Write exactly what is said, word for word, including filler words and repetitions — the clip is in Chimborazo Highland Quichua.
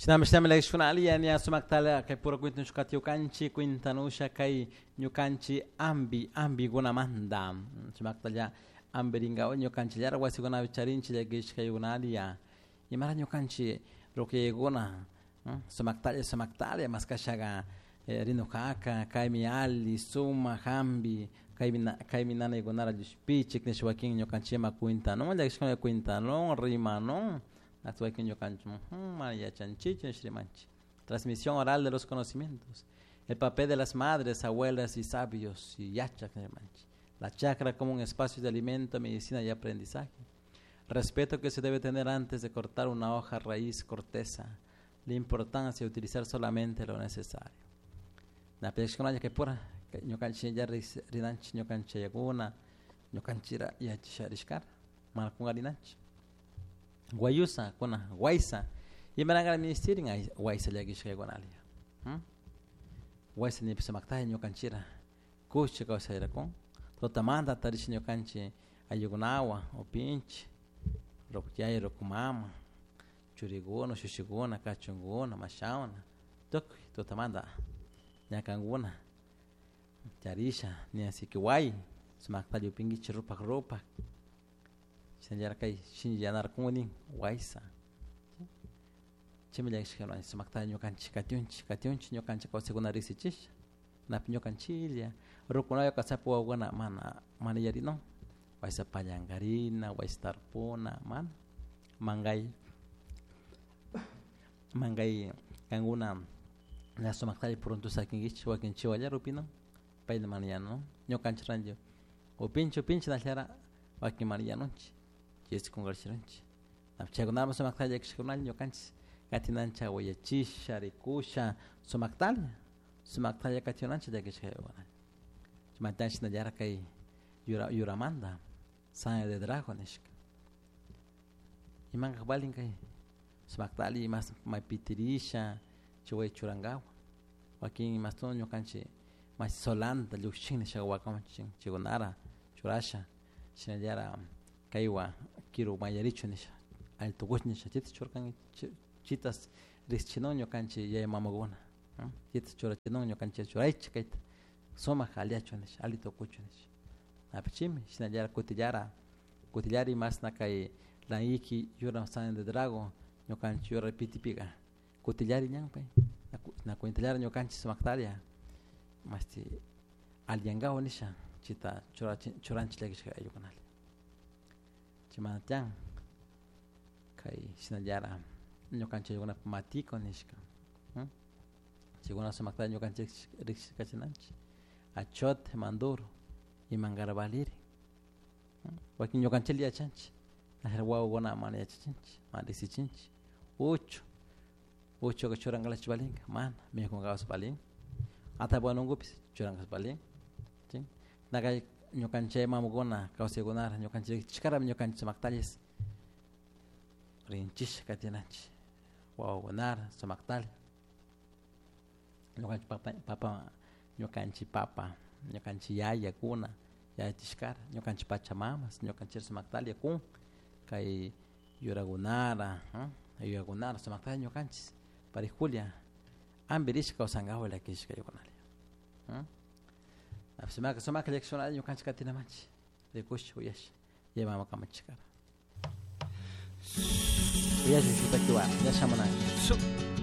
Shinami shinami llakishkuna alli ña sumaktala kay pura kwintanushka kwintanusha kay ñukanchik ambi ambikunamanta sumaktalla ambirinkapak ñukanchillara wasikunapi charinchik llakishkaykunalla imara ñukanchik ruquikuna sumaktalla sumaktalla maskashaka rinukaka kaymi alli sumak hampi kaymi kaymi nanaykunara llushpichik nish wakin ñukanchikman kwintanun llakishkuna kwintanun rimanun wakin ñukanchik mana yachanchikchu nish rimanchik. Transmisión oral de los conocimientos, el papel de las madres, abuelas y sabios y yachak rimanchik. La chacra como un espacio de alimento, medicina y aprendizaje. Respeto que se debe tener antes de cortar una hoja, raíz, corteza. La importancia de utilizar solamente lo necesario. La que pura ñukanchik ya rinanchik ñukanchik yakuna ñukanchira yachasharishkara mana kungarinanchik. Guayusa kuna guaysa imaranga ministerin guaysa llakishkaykunalla. Guaysa nipis sumaktalla ñukanchira kushcha kawsayrakun tutamanta tarish ñukanchik ayllikunawan upinchik ruku yaya ruku mama churikuna ushushikuna kachunkuna mashawana tukuy tutamanta ñakankuna charisha ñasiki way sumaktalla upinkichik rupak rupak shinallara kay shinllanarkun nin waysa chaymi llakishka sumaktalla ñukanchik katiunchik katiunchik ñukanchik kawsaykuna riksichisha napi ñukanchiklla rukunalla kasapi wawakuna mana mana yarinun waysa pallankarina waysa tarpuna mana mankay mankay kankuna ña sumaktalla pronto sakinkichik wakin chiwallara upinun payla mana yanun ñukanchik ranti upinchik upinchik nallara wakin mana yanunchik chaysi kunkarishirunchik chaykunaman sumaktalla llakishkakunalla ñukanchik katinanchik awayachisha rikusha sumaktalla sumaktalla katiunanchik llakishkaykunalla chaymanta shinallara kay yura yuramanta sangre de drago nishka imankak valin kay sumaktalla imas maypitirisha chay churankawa wakin imastun ñukanchik mashi solanta llukshin nishaka wakaman chaykunara churasha shinallara kaywan kiru mayarichu nisha alli tukush nisha chayta churkanki chitas riksichinun ñukanchik yaya mamakuna chayta churachinun ñukanchik churaychik kayta sumak alliachun nisha alli tukuchun nisha apichimi shinallara kutillara kutillara imashna kay laiki yura sangre de drago ñukanchik yura pitipika kutillari ñan pay na cuentallara ñukanchik sumaktalla mashti alliyankawa nisha chayta churanchik llakishka ayllukunalla chaymanta tiyan kay shinallara ñukanchik ayllukunapak matiko nishka chaykuna sumaktalla ñukanchik rikshikachinanchik achote manduro imankara valiri wakin ñukanchiklla yachanchik wawakuna mana yachachinchik mana riksichinchik uchu uchuka churankalachu valinka mana mikunkapas valin atapuanunkupis churankapas valin nakay ñukanchik mamakuna kawsaykunara ñukanchik chikara ñukanchik sumaktallis rinchisha katinanchik wawakunara sumaktalla ñukanchik papa papa ñukanchik papa ñukanchik yayakuna yachachishkara ñukanchik pachamamas ñukanchik sumaktalla kun kay yurakunara yuyakunara sumaktalla ñukanchik parijulla ampirishka kawsankapak llakishkaykunalla sumak sumak llakishkunalla ñukanchik katinamanchik rikush uyasha yaya mama kamachishkara uyashun shuk takiwan ña shamunanchik.